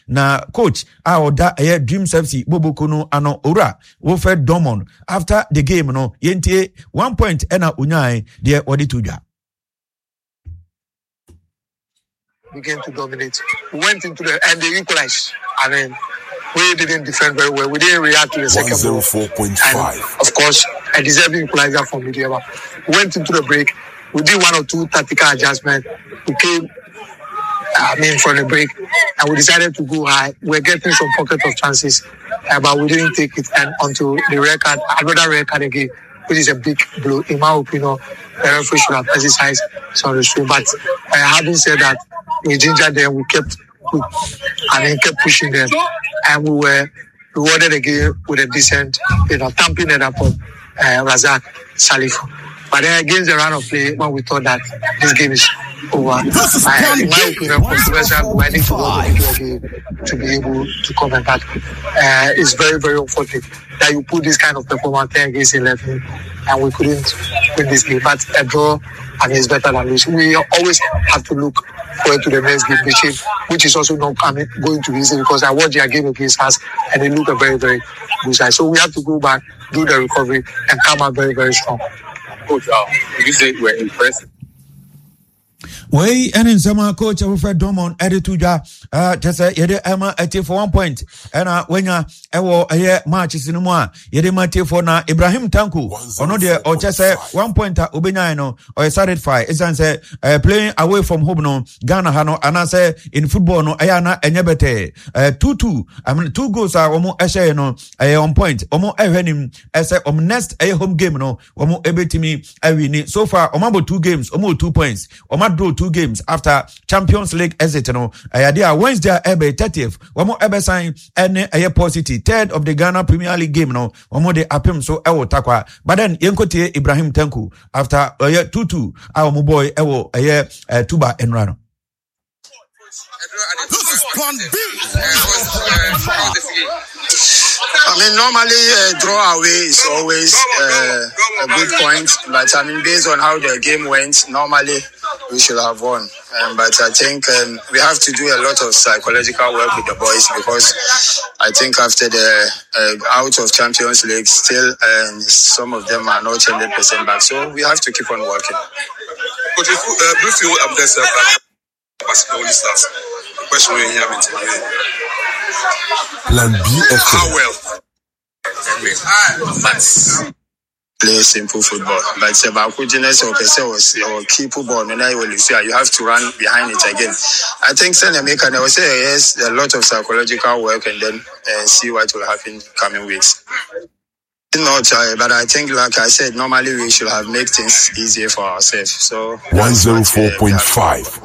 Na coach a ɔda ɛyɛ Dreams FC boboko no ano, Owura Wilfred Dormon, after the game no, yɛntie 1 point ɛna onyae deɛ wɔde to dwa. Began to dominate. We went into the and they equalized. I mean, we didn't defend very well. We didn't react to the second goal. And of course, a deserving equalizer from Medeama. We went into the break. We did one or two tactical adjustments. We came, I mean, from the break, and we decided to go high. We're getting some pocket of chances, but we didn't take it. And onto the red card, another red card again, which is a big blow. In my opinion, the referee should have exercised some restraint. But having said that, we gingered them, we kept, we, I mean, kept pushing them, and we were rewarded again with a decent, thumping it up from Razak Salifu. But then against the run of play, when we thought that this game is over, in my opinion, controversial, I need to go to the game to be able to come back. It's very, very unfortunate that you put this kind of performance 10 against 11 and we couldn't win this game. But a draw, I mean, it's better than losing. We always have to look forward to the next game, which is also not coming, going to be easy because I watched their game against us and they look a very, very good side. So we have to go back, do the recovery, and come out very, very strong. Coach, you say we're impressed. Wei ɛne nsɛm a coach Wilfred Dormon ɛde to dwa, kyɛ sɛ yɛde ɛma atiefo 1 point ɛna wanya ɛwɔ ɛyɛ matches no mu a yɛde ma atiefo. Na Ibrahim Tanko, ɔno deɛ ɔkyɛ sɛ 1 point a obɛnyae no, ɔyɛ satisfied ɛsiane sɛ playing away from home no, Ghana ha no anaasɛ in football no, ɛyɛ ana ɛnyɛ bɛtɛɛ. 2-2, I mean, two goals a wɔn ɛhyɛɛ no ɛyɛ on point. Wɔn ɛhwɛ nim ɛsɛ wɔn next ɛyɛ home game no, wɔn ɛbɛtumi awin. So far wɔn abɔ two games, wɔn wɔ 2 points. Wɔn adraw two games after Champions League exit no. Ɛyɛ adeɛ a Wednesday a ɛbɛ 30th, wɔn ɛbɛsan ɛne ɛyɛ Port City, third of the Ghana Premier League game no, wɔn de apem so ɛwɔ Takwa. But then yɛnkotie Ibrahim Tanko after ɛyɛ 2-2 a wɔn bɔɔ ɛwɔ ɛyɛ Tuba nnura no. This is Plan B. I mean, normally a draw away is always a good point, but I mean, based on how the game went, normally we should have won. But I think we have to do a lot of psychological work with the boys because I think after the out of Champions League, still some of them are not 100% back. So we have to keep on working. Coach, if, do you feel there's a Basake Stars? The question we hear me today. Plan B How FM. well? But Play simple football. But sɛ baako gyina sɛ ɔpɛ sɛ ɔsi or keep ball no na yɛ lose a, you have to run behind it again. I think sɛ meka na ɔsɛ yes, a lot of psychological work and then see what will happen coming weeks. Not, but I think, like I said, normally we should have made things easier for ourselves. So that's what we have to 104.5.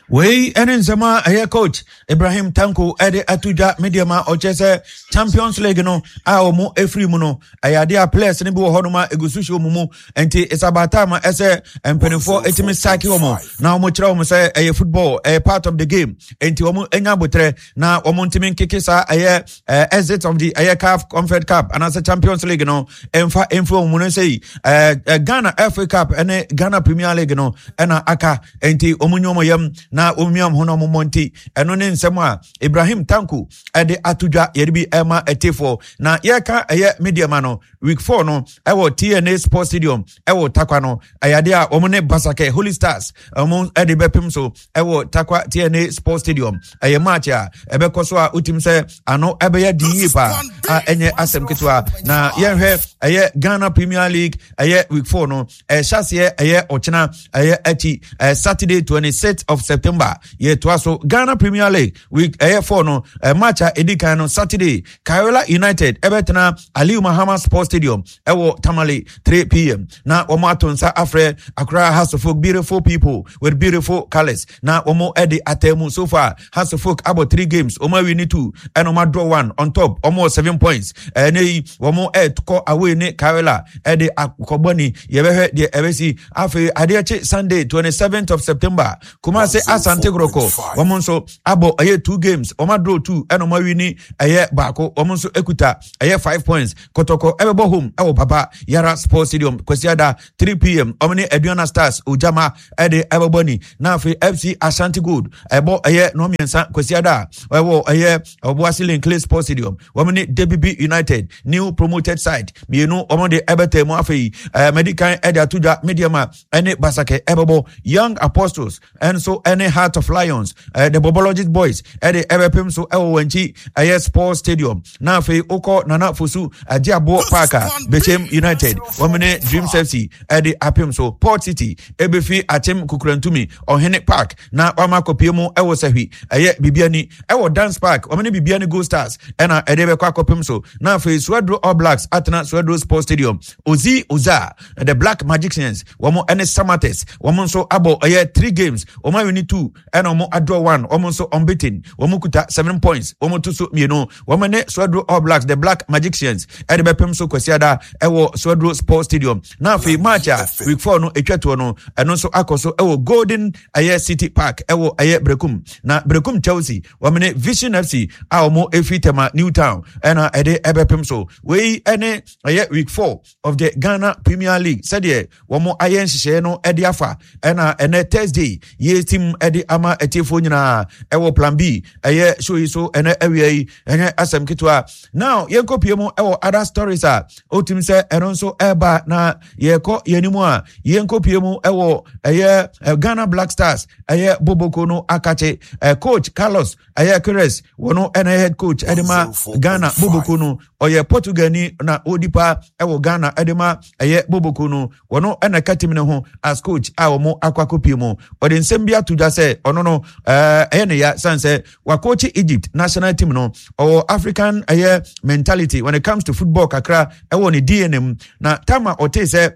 Wei ɛne nsɛm a ɛyɛ coach Ibrahim Tanko ɛde ato dwa. Medeama ɔkyɛ sɛ Champions League no a wɔn efiri mu no, ɛyɛ adeɛ a players no bi wɔ hɔnom a egu so hyɛ wɔn mu, nti it's about time a ɛsɛ mpanimfoɔ etumi sack wɔn na wɔn kyerɛ wɔn sɛ ɛyɛ football, ɛyɛ part of the game, nti wɔn anya abotire na wɔn ntumi nkeke saa ɛyɛ exit of the ɛyɛ CAF Confed Cup anaasɛ Champions League no ɛmfa ɛmfi wɔn mu no sɛ yi ɛɛ Ghana FA Cup ɛne Ghana Premier League no ɛna aka, nti wɔn nyɛ wɔn yam na wɔn mia wɔn ho na wɔn mmɔ. Nti ɛno ne nsɛm a Ibrahim Tanko ɛde ato dwa yɛde bi ɛma ɛtefoɔ. Na yɛka ɛyɛ Medeama no week 4 no ɛwɔ TNA Sports Stadium ɛwɔ Takwa no, ɛyɛ adeɛ a wɔn ne Basake Holy Stars wɔn ɛde bɛpem so ɛwɔ Takwa TNA Sports Stadium. Ɛyɛ match a ɛbɛkɔ so a wotim sɛ ano ɛbɛyɛ den yie paa a ɛnyɛ asɛm ketewa. Na yɛnhwɛ ɛyɛ Ghana Premier League ɛyɛ week 4 no, ɛhyɛ aseɛ ɛyɛ ɔkyena ɛyɛ akyi Saturday 26th of September. Yɛtoa so Ghana Premier League week ɛyɛ 4 no, match a ɛdi kan no, Saturday, Karela United ɛbɛtena Aliu Mahama Sports Stadium ɛwɔ Tamale 3 p.m. na wɔn ato nsa afrɛ Accra Hearts of Oak, beautiful people with beautiful colours, na wɔn ɛde atɛn mu. So far Hearts of Oak abɔ three games, wɔn awin ne two ɛna wɔn adraw one. On top wɔn wɔ 7 points. Ɛnɛ yi wɔn ɛkɔ away ne Karela ɛde akɔbɔ ni, yɛbɛhwɛ deɛ ɛbɛsi. Afei adeɛ kye Sunday 27th of September, Kumase. Asante Kotoko wɔn nso abɔ ɛyɛ two games, wɔn adraw two ɛna wɔn awini ɛyɛ baako, wɔn nso ekuta ɛyɛ 5 points. Kotoko ɛbɛbɔ home ɛwɔ Baba Yara Sports Stadium Kwasiada 3 p.m., wɔn ne Aduana Stars Ojama ɛde ɛbɛbɔ ni. Na afei FC Ashanti Gold ɛbɔ ɛyɛ 3 Kwasiada ɛwɔ ɛyɛ Ɔboase Len Clay Sports Stadium, wɔn ne Debibi United, new promoted side mmienu, wɔn de ɛbɛtɛ mu. Afei mɛdi ɛde ato dwa, Medeama ɛne Basake ɛbɛbɔ, Young Apostles ɛnso ɛne Heart of Lions, the Bobologist Boys ɛde ɛbɛpem so ɛwɔ wɔn akyi ɛyɛ Sports Stadium. Na afei okɔ Nana Fosu Agye Aboɔ Park a, Bechem United wɔn ne Dreams FC ɛde apem so. Port City ɛbɛfi Akyem Kukurantumi Ɔhene Park na wama akɔpie mu ɛwɔ Sahwi ɛyɛ Bibiani ɛwɔ Dance Park, wɔn ne Bibiani Gold Stars ɛna ɛde bɛkɔ akɔpem so. Na afei Suaduro All Blacks atena Suaduro Sports Stadium, Ozi Oza the Black Magicians wɔn ɛne Samates, wɔn nso abɔ ɛyɛ three games, wɔn awini two ɛna wɔn adraw one, wɔn nso unbeaten, wɔn kuta 7 points, wɔn to so mmienu. Wɔn ne Suaduro All Blacks, the Black Magicians, ɛde bɛpem so Kwasiada ɛwɔ Suaduro Sports Stadium. Na afei match a week 4 no etwa toɔ no, ɛno nso akɔ so ɛwɔ Golden ɛyɛ City Park ɛwɔ ɛyɛ Brekum, na Brekum Chelsea wɔn ne Vision FC a wɔn efi Tema New Town ɛna ɛde ɛbɛpem so. Wei ɛne ɛyɛ week 4 of the Ghana Premier League sɛdeɛ wɔn ayɛ nhyehyɛeɛ no de afa, ɛna ɛnɛ Thursday yɛ team de ama atiefoɔ nyinaa ɛwɔ Plan B ɛyɛ show yi so ɛnɛ awia yi. Ɛnyɛ asɛm ketewa. Now yɛnkɔ pie mu ɛwɔ other stories a otim sɛ ɛno nso ɛreba, na yɛkɔ yɛn anim a, yɛnkɔ pie mu ɛwɔ ɛyɛ Ghana Black Stars ɛyɛ boboko no akakye coach Carlos ɛyɛ Queiroz, wɔn ɛna head coach ɛde ma Ghana boboko no. Ɔyɛ Portugal ni na ɔdi pa ɛwɔ Ghana ɛde ma ɛyɛ boboko no. Wɔn ɛna ɛka team no ho as coach a wɔn akɔ akɔpie mu. Ɔde nsɛm bi ato dwa sɛ ɔno no ɛyɛ ne ya san sɛ wakɔkye Egypt national team no. Ɔwɔ African ɛyɛ mentality when it comes to football kakra ɛwɔ ne DNA mu, na tama ɔte sɛ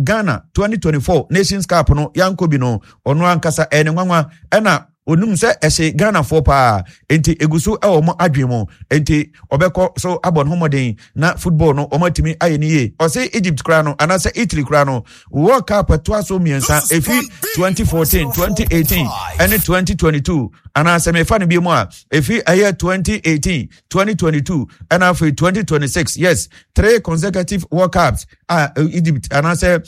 Ghana 2024 Nations Cup no yankɔ bi no, ɔno ankasa ɛyɛ ne nwanwa, ɛna onim sɛ ɛhyɛ Ghanafoɔ paa, nti egu so ɛwɔ wɔn adwene mu, nti ɔbɛkɔ so abɔ ne ho mmɔden na football no wɔn atumi ayɛ ne yie. Ɔsɛ Egypt koraa no anaasɛ Italy koraa no, World Cup ɛtoa so mmiɛnsa efi 2014, 2018 ɛne 2022, anaasɛ mefa no bi mu a, efi ɛyɛ 2018, 2022 ɛna afei 2026. Yes, three consecutive World Cups a Egypt anaasɛ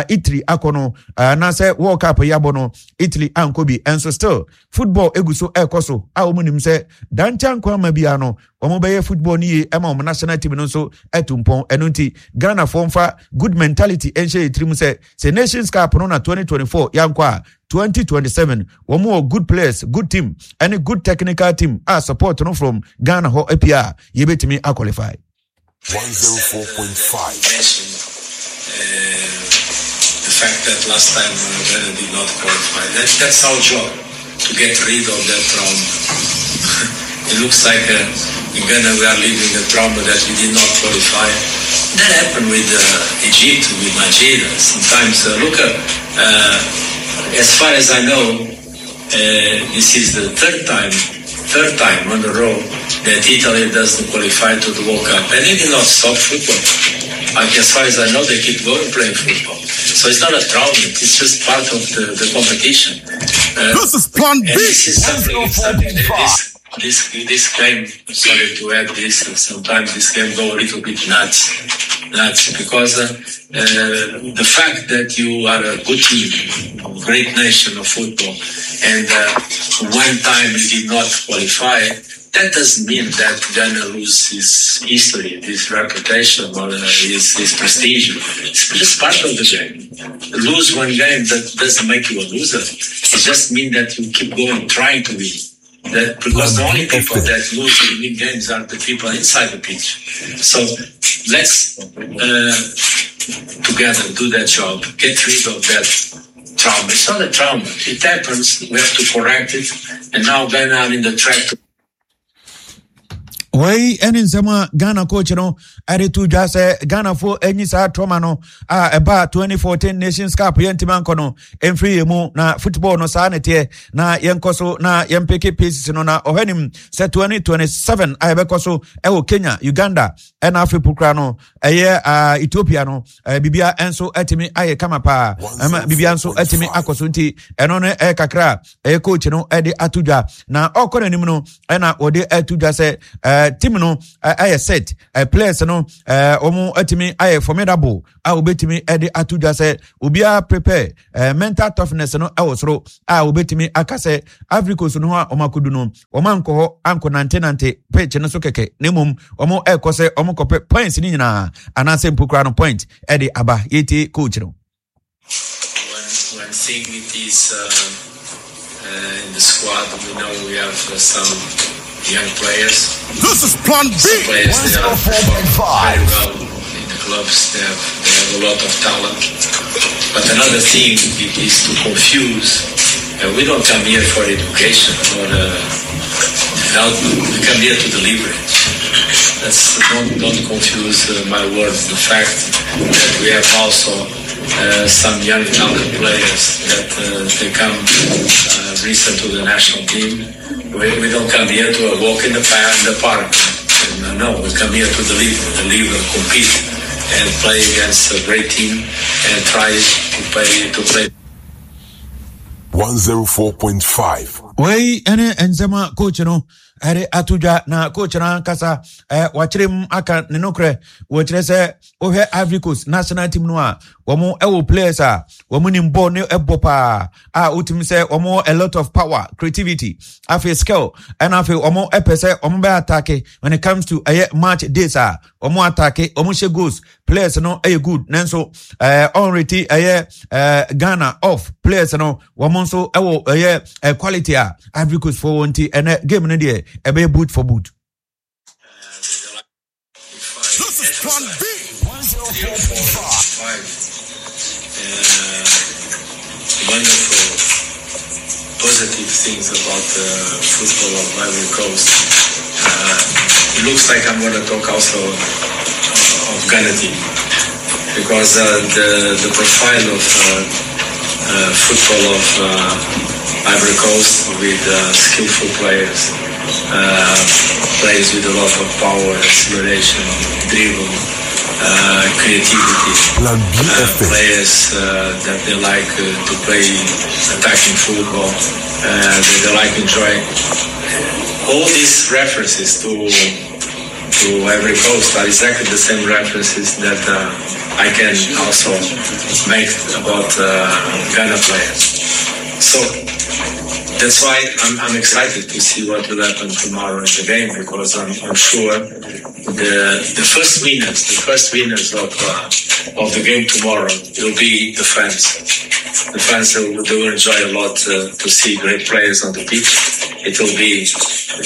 Italy akɔ no, anaasɛ World Cup yi abɔ no, Italy ankɔ bi. Ɛnso still football egu so ɛrekɔ so a wɔn nim sɛ dankyɛn nkwa ama biara no wɔn bɛyɛ football no yie ɛma wɔn national team no nso ɛtu mpɔn. Ɛno nti Ghanafoɔ mfa good mentality ɛnhyɛ yɛ tirim sɛ Nations Cup no na 2024 yankɔ a, 2027 wɔn wɔ good players, good team ɛne good technical team a support no from Ghana hɔ apia a yɛbɛtumi aqualify. 104.5. The fact that last time Ghana did not qualify. That's our job, to get rid of that trauma. It looks like in Ghana we are living a trauma that we did not qualify. That happened with Egypt, with Nigeria. Sometimes, look, as far as I know, this is the third time on the row that Italy doesn't qualify to the World Cup. And they did not stop football. Like, as far as I know, they keep going playing football. So it's not a trauma, it's just part of the competition. This is Plan And B. this is something this game, sorry to add this, sometimes this game go a little bit nuts, because the fact that you are a good team, a great nation of football, and one time you did not qualify, that doesn't mean that Ghana lose his history, his reputation, or his prestige. It's just part of the game. Lose one game, that doesn't make you a loser. It just means that you keep going, trying to win. That because the only people that lose and win games are the people inside the pitch. So let's together do that job. Get rid of that trauma. It's not a trauma. It happens. We have to correct it. And now Ghana are in the track to Wei ne nsɛm a Ghana coach no de to dwa sɛ Ghanafoɔ anyi saa trauma no a ɛbaa 2014 Nations Cup yɛntumi ankɔ no mfiri yɛn mu na football no saa ne teɛ na yɛnkɔ so na yɛmpeke paces no na ɔhwɛ nim sɛ 2027 a yɛbɛkɔ so ɛwɔ Kenya, Uganda ɛna afei pokura no ɛyɛ uh, Ethiopia no uh, bibia nso atumi ayɛ kama paa ɛma bibia nso atumi akɔ so nti ɛno no ɛyɛ kakra ɛyɛ coach no ɛde ato dwa na ɔkɔ n'anim no ɛna wɔde ato dwa sɛ ɛɛ team no ɛyɛ set ɛɛ players no ɛɛ wɔn atumi ayɛ formidable a wɔbɛtumi ɛde ato dwa sɛ obiara prepare ɛɛ mental toughness no ɛwɔ soro a wɔbɛtumi aka sɛ Ivory Coast no ho a wɔn akɔdu no wɔn ankɔ hɔ ankɔ nantenante pitch no so kɛkɛ na mmom wɔn ɛrekɔ sɛ wɔn kɔpɛ points no nyinaa anaasɛ mpo koraa no point ɛde aba yɛtie coach no. One, one thing it is uh, uh, in the squad, we know we have uh, some young players. This is Plan B. Some players they are performing 104.5. very well in the clubs. They have, they have a lot of talent. But another thing it is to confuse. We don't come here for education or development. We come here to deliver it. That's don't don't confuse my words. The fact that we have also some young talent players that they come recent to the national team. We, we don't come here to walk in the, in the park. No, we come here to deliver, deliver, compete, and play against a great team and try to play to play. 104.5. Wei ne nsɛm a coach no ɛde ato dwa na coach no ankasa wakyerɛ mu aka ne nokorɛ wɔkyerɛ sɛ wohwɛ Ivory Coast national team no a wɔn ɛwɔ players a wɔn nim bɔɔl ne ɛbɔ paa a wotumi sɛ wɔn wɔ a lot of power creativity afei skill ɛna afei wɔn ɛpɛ sɛ wɔn bɛ attack when it comes to ɛyɛ match days a wɔn attack wɔn hyɛ goals players no ɛyɛ good nanso ɛɛ ɔnreti ɛyɛ ɛɛ Ghana off players no wɔn nso ɛwɔ ɛyɛ ɛ quality a Ivory Coast fo wɔn ti ɛnɛ game no deɛ ɛbɛyɛ boot for boot. This is Plan B. 104.5. Wonderful positive things about the football of Ivory Coast. It looks like I'm going to talk also of Ghana team because the the profile of football of Ivory Coast with skillful players, players with a lot of power, acceleration, dribble, creativity. Plan B FM. Players that they like to play attacking football, that they like enjoy. All these references to to Ivory Coast are exactly the same references that I can also make about Ghana players. So that's why I'm, I'm excited to see what will happen tomorrow in the game because I'm, I'm sure the the first winners, the first winners of of the game tomorrow will be the fans. The fans will, they will enjoy a lot to see great players on the pitch. It will be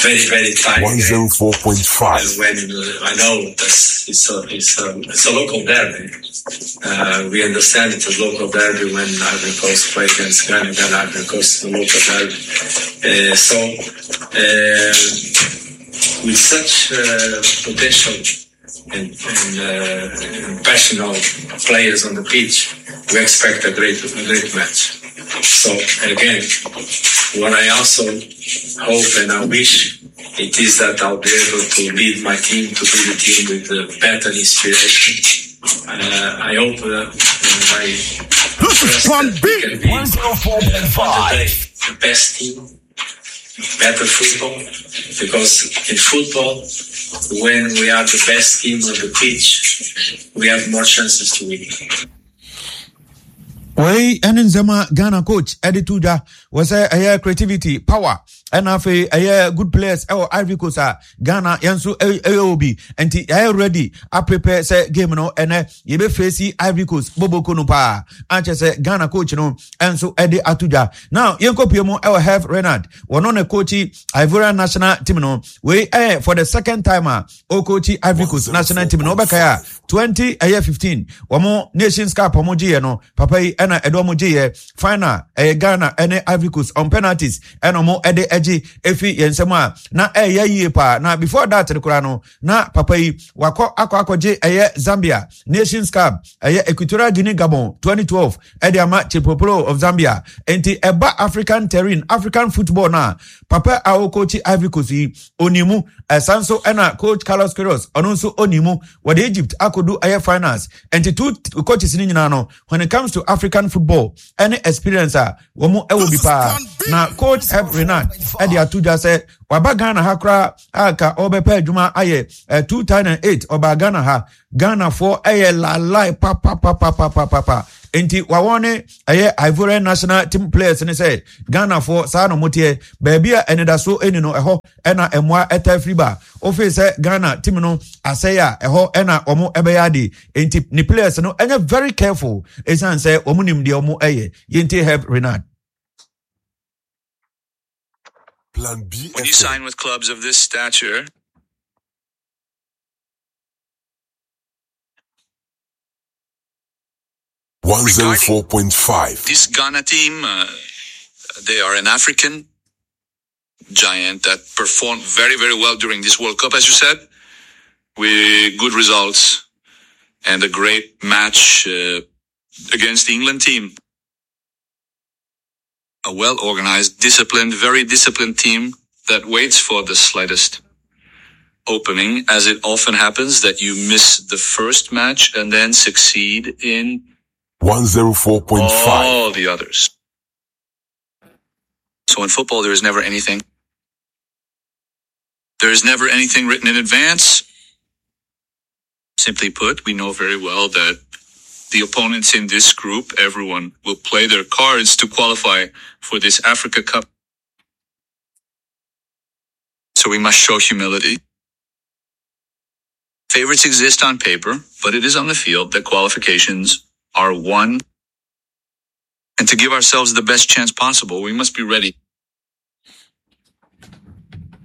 very very tight. 104.5. When I know that's it's a it's a it's a local derby. We understand it's a local derby when Ivory Coast play against Ghana. Ghana Ivory Coast is a local derby. So with such potential and, and, and passionate players on the pitch, we expect a great a great match. So again, what I also hope and I wish it is that I'll be able to lead my team to be the team with better inspiration. I hope and I This is trust Plan that we B. can be on the day 104.5. the best team, better football, because in football, when we are the best team on the pitch, we have more chances to win. Wei ɛne nsɛm a Ghana coach ɛde to dwa wɔ sɛ ɛyɛ creativity power ɛna afei ɛyɛ good players ɛwɔ Ivory Coast a Ghana yɛn nso ɛyɛ obi nti yɛayɛ ready aprepare sɛ game no ɛnɛ yɛbɛfɛsi Ivory Coast boboko no paa ankyɛ sɛ Ghana coach no ɛnso ɛde ato dwa. Now yɛnkɔpie mu ɛwɔ Herve Renard wɔno ne coach Ivorian national team no wei ɛyɛ for the second time a ɔcoach Ivory Coast national team no wɔbɛkae a 20 ɛyɛ 15 wɔn Nations Cup wɔn gyeeɛ no papa yi ɛna ɛde wɔn gyeeɛ final ɛyɛ Ghana ɛne Ivory Coast on penalties ɛna wɔn ɛde ɛgye efi yɛn nsam a na ɛyɛ yie paa. Na before that no koraa no, na papa yi wakɔ akɔ akɔgye ɛyɛ Zambia Nations Cup, ɛyɛ Equatorial Guinea Gabon 2012 ɛde ama Chipolopolo of Zambia. Nti ɛba African terrain, African football no a, papa a ɔkɔkyi Ivory Coast yi ɔni mu. Ɛsan nso ɛna coach Carlos Queiroz, ɔno nso ɔni mu, wɔde Egypt akɔdu ɛyɛ finals. Nti two coaches no nyinaa no, when it comes to African football ɛne experience a wɔn ɛwɔ bi paa. Na coach Herve Renard ɛde ato dwa sɛ waba Ghana ha koraa a ka ɔbɛpɛ adwuma ayɛ. 2008 ɔbaa Ghana ha, Ghanafoɔ ɛyɛ lalai papapapapapapa, nti wawɔn ne ɛyɛ Ivorian national team players ne sɛ Ghanafoɔ saa na wɔteɛ, baabi a anidasoɔ ɛni no ɛhɔ ɛna mmoa ɛta firi ba. Ofei sɛ Ghana team no asɛe a, ɛhɔ ɛna wɔn ɛbɛyɛ ade, nti ne players no ɛnyɛ very careful ɛsiane sɛ wɔn nim deɛ wɔn ɛyɛ. Yɛntie Herve Renard. Plan B When you sign with clubs of this stature, 104.5. This Ghana team, they are an African giant that performed very, very well during this World Cup, as you said, with good results and a great match against the England team. A well-organized, disciplined, very disciplined team that waits for the slightest opening, as it often happens that you miss the first match and then succeed in 104.5. all the others. So in football, there is never anything. There is never anything written in advance. Simply put, we know very well that the opponents in this group, everyone will play their cards to qualify for this Africa Cup. So we must show humility. Favorites exist on paper, but it is on the field that qualifications are won. And to give ourselves the best chance possible, we must be ready.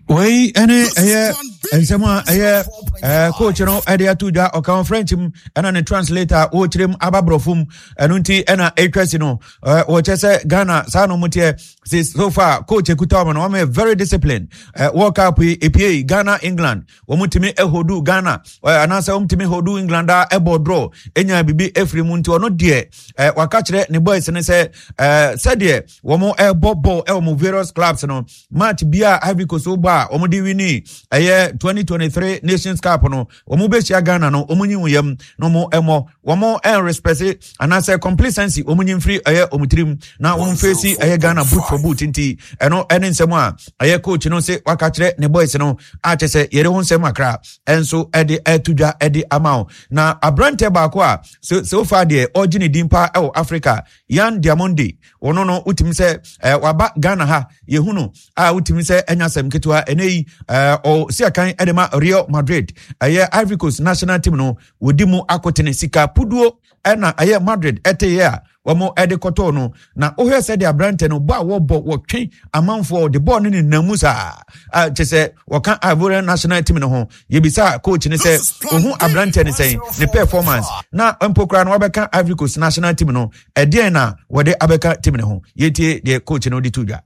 Wei ɛne ɛyɛ nsɛm a ɛyɛ coach no ɛde ato dwa. Ɔka wɔ French mu ɛna ne translator wɔrekyerɛ mu aba borɔfo mu. Ɛno nti ɛna ɛtwa si no, wɔkyɛ sɛ Ghana saa na wɔn teɛ. So far coach ekuta wɔn no, wɔn yɛ very disciplined. World Cup yi epie Ghana England, wɔn tumi ɛhodu Ghana anaasɛ wɔn tumi hodu England a ɛbɔ draw enya bibi efiri mu. Nti ɔno deɛ waka kyerɛ ne boys no sɛ sɛdeɛ wɔn ɛbɔ ball ɛwɔ wɔn various clubs no, match bi a Ivory Coast bɔ a wɔn de wini ɛyɛ 2023 Nations Cup no, wɔn bɛhyia Ghana no, wɔn nyi wɔn yam na wɔn ɛmɔ wɔn ɛnrespɛse anaasɛ complacency wɔn nyi mfiri ɛyɛ wɔn tirim na wɔn fesi ɛyɛ Ghana boot for boot. Nti ɛno ɛne nsɛm a ɛyɛ coach no se waka kyerɛ ne boys no a kyɛ sɛ yɛde ho nsɛm akra ɛnso ɛde ɛto dwa ɛde ama wo. Na aberanteɛ baako a so far deɛ ɔgye ne din paa ɛwɔ Africa, Yan Diamonde, ɔno no wotumi sɛ waba Ghana ha, yɛhu no a wotumi sɛ ɛnya asɛm ketewa. Ɛnɛ yi ɔsi akan ɛde ma Real Madrid. Ɛyɛ Ivory Coast national team no wɔdi mu akotene, sika puduo ɛna ɛyɛ Madrid ɛteyɛ a wɔn ɛde kɔtɔɔ no. Na wohwɛ sɛ de aberante no bɔ a wɔbɔ, wɔtwe amanfoɔ de bɔɔl no nenam mu saa, kyɛ sɛ wɔka Ivorian national team no ho. Yɛbisa coach no sɛ ohun aberante no sɛn, ne performance na mpo koraa no wabɛka Ivory Coast national team no, ɛdeɛn na wɔde abɛka team no ho. Yɛtie deɛ coach no de to dwa.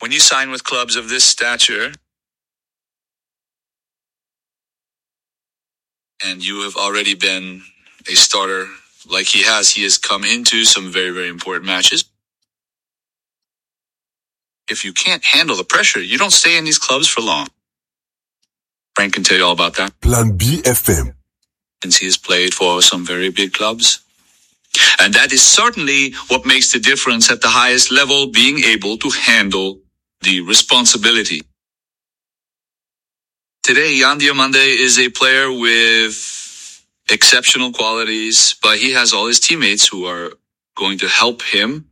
When you sign with clubs of this stature, and you have already been a starter like he has come into some very, very important matches. If you can't handle the pressure, you don't stay in these clubs for long. Frank can tell you all about that. Plan B FM. Since he has played for some very big clubs. And that is certainly what makes the difference at the highest level, being able to handle the responsibility. Today, Yan Diomande is a player with exceptional qualities, but he has all his teammates who are going to help him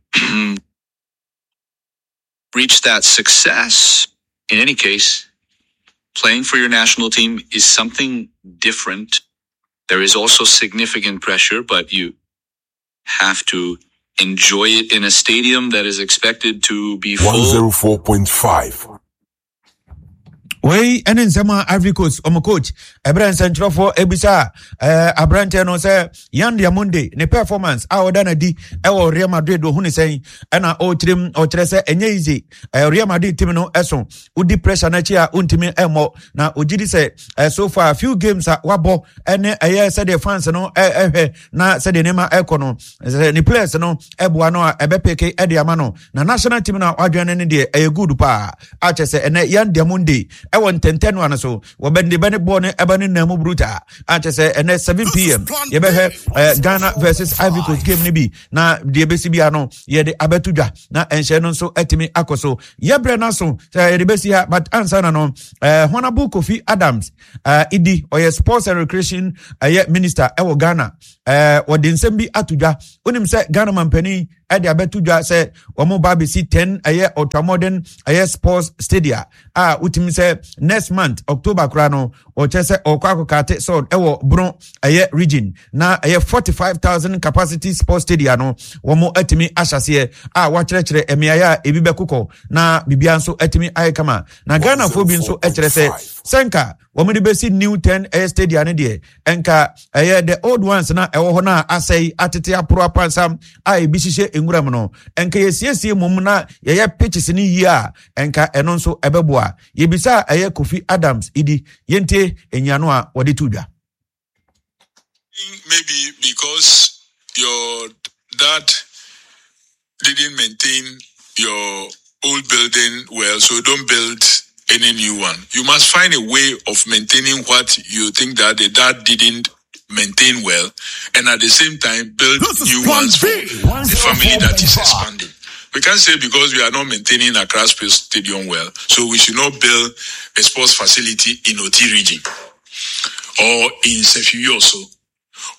reach that success. In any case, playing for your national team is something different. There is also significant pressure, but you have to enjoy it in a stadium that is expected to be full. 104.5. Wei ne nsɛm a Ivory Coast wɔn coach ɛberɛ nsɛnkyerɛfoɔ ebisa ɛɛ aberanteɛ no sɛ Yan Diamonde ne performance a ɔda n'adi ɛwɔ Real Madrid ohun ne sɛn ɛna ɔrekyerɛ mu ɔkyerɛ sɛ ɛnyɛ easy ɛɛ Real Madrid team no ɛso wodi pressure n'akyi a wontumi ɛmmɔ na ogye di sɛ ɛɛ so far few games a wabɔ ɛne ɛyɛ sɛdeɛ fans no ɛhwɛ na sɛdeɛ nneɛma ɛkɔ no sɛ ne players no ɛboa no a ɛbɛpeke ɛde ama no na national team no a wadwene no deɛ ɛyɛ good paa akyɛ sɛ ɛnɛ yan diamonde ɛwɔ ntɛntɛn no ano so wɔbɛde bɛ ne bɔɔl no ɛbɛ ne nan mu bruta akyɛ sɛ ɛnɛ 7 pm yɛbɛhwɛ ɛɛ ghana versus ivory coast game no bi na deɛ ɛbɛsi bia no yɛde abɛto dwa na ɛnhyɛ no nso atumi akɔ so yɛbrɛ no aso sɛ yɛde bɛsi ha but ansa na no ɛɛ honorable kofi adams ɛɛ idi ɔyɛ sports and recreation ɛyɛ minister ɛwɔ ghana ɛɛ wɔde nsɛm bi ato dwa wonim sɛ ghana mampanin ɛde abɛto dwa sɛ wɔn ba abɛsi 10 ɛyɛ ultramodern ɛyɛ sports stadia a wotumi sɛ next month october koraa no ɔkyɛ sɛ ɔkɔ akɔkate sɔd ɛwɔ bono ɛyɛ region na ɛyɛ 45000 capacity sports stadia no wɔn atumi ahyɛseɛ a wakyerɛkyerɛ mmeaeɛ a ebi bɛkokɔ na biribiara nso atumi ayɛ kama na ghanafoɔ bi nso kyerɛ sɛ sɛnka wɔn de bɛsi new 10 ɛyɛ stadia no deɛ nka ɛyɛ the old ones na ɛwɔ hɔ no a asɛe atete aporo apansam a ebi hyehyɛ nwura mu no nka yɛsiesie mmom na yɛyɛ pitches no yie a nka ɛno nso ɛbɛboa yɛbisa a ɛyɛ kofi adams idi yɛntie nyiano a wɔde to dwa. Maybe because your dad didn't maintain your old building well, so don't build any new one. You must find a way of maintaining what you think that the dad didn't maintain well, and at the same time build new ones for the family that is expanding. We can't say because we are not maintaining Accra Space Stadium well, so we should not build a sports facility in Oti region or in Sefioso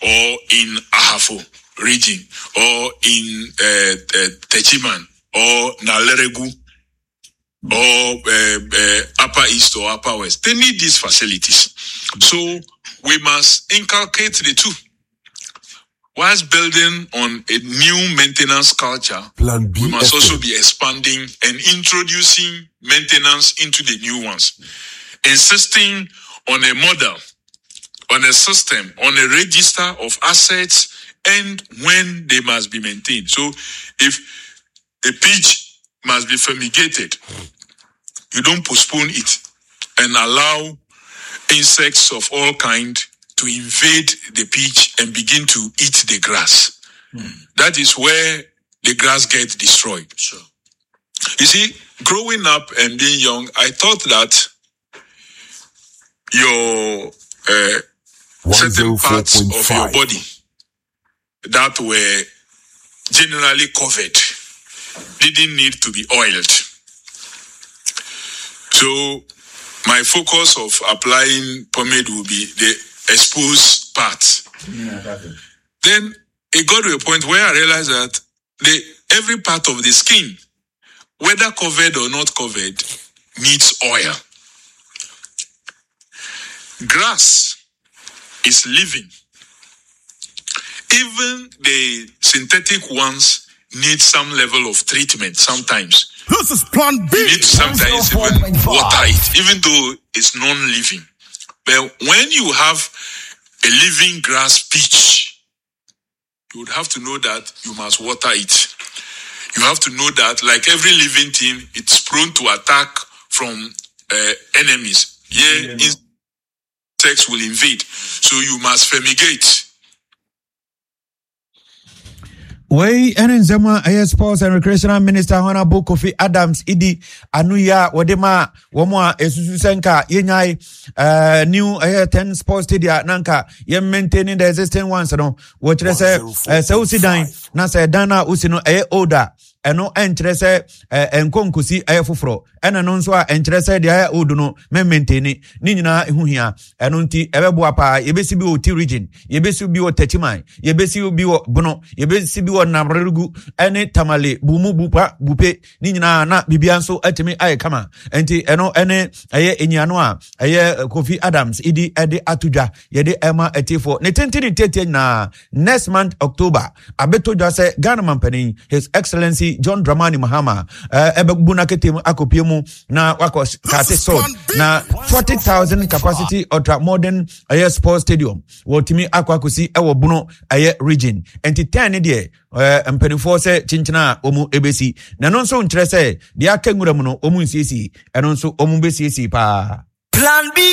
or in Ahafo region or in uh, uh, Techiman or Naleregu or uh, uh, Upper East or Upper West. They need these facilities. So we must inculcate the two. Whilst building on a new maintenance culture, Plan B we must FM. also be expanding and introducing maintenance into the new ones, insisting on a model, on a system, on a register of assets and when they must be maintained. So if a pitch must be fumigated, you don't postpone it and allow insects of all kind to invade the pitch and begin to eat the grass. That is where the grass gets destroyed. Sure. You see, growing up and being young, I thought that your uh, certain parts of your 104.5. body that were generally covered didn't need to be oiled. So my focus of applying pomade will be the exposed part. Then it got to a point where I realized that the every part of the skin, whether covered or not covered, needs oil. Grass is living. Even the synthetic ones need some level of treatment sometimes. This is Plan B. You need to sometimes even water it, even though it's non-living. But when you have a living grass pitch, you would have to know that you must water it. You have to know that, like every living thing, it's prone to attack from uh, enemies. Yeah, insects will invade. So you must fumigate. Wei ne nsɛm a ɛyɛ sports and recreational minister honorable kofi adams idi ano yi a wɔde ma wɔn a esusu sɛ nka yɛnyae uh, new ɛyɛ 10 sports stadium na nka yɛn maintaining the existing ones no wɔkyerɛ sɛ uh, sɛ wosi dan na sɛ dan no a wosi no ɛyɛ old a ɛno ɛnkyerɛ sɛ ɛnkɔ nkosi ɛyɛ foforɔ ɛna no nso a ɛnkyerɛ sɛ deɛ ayɛ old no mɛmɛntɛni ne nyinaa ɛho hia ɛno nti ɛbɛboa paa yɛbɛsi bi wɔ ti region yɛbɛsi bi wɔ tɛkyiman yɛbɛsi bi wɔ bono yɛbɛsi bi wɔ namregu ɛne tamale bumu bupa bupe ne nyinaa na biribia nso atumi ayɛ kama nti ɛno ɛne ɛyɛ enyiano a ɛyɛ kofi adams idi ɛde ato dwa yɛde ɛma atiefoɔ ne tenten ne tietie nyinaa next month october abɛtɔ dwa sɛ ghana mampanin his excellency Excellency John Dramani Mahama ɛbɛbu no akete mu akɔpie mu na wakɔ kate sod na 40,000 capacity ultra modern ɛyɛ sports stadium wɔtumi akɔ akɔsi ɛwɔ Bono ɛyɛ region. Nti 10 ne deɛ mpanimfoɔ sɛ kyenkyena a wɔn ɛbɛsi, na ɛno nso nkyerɛ sɛ deɛ aka nwura mu no wɔn nsiesie, ɛno nso wɔn bɛsiesie paa. Plan B.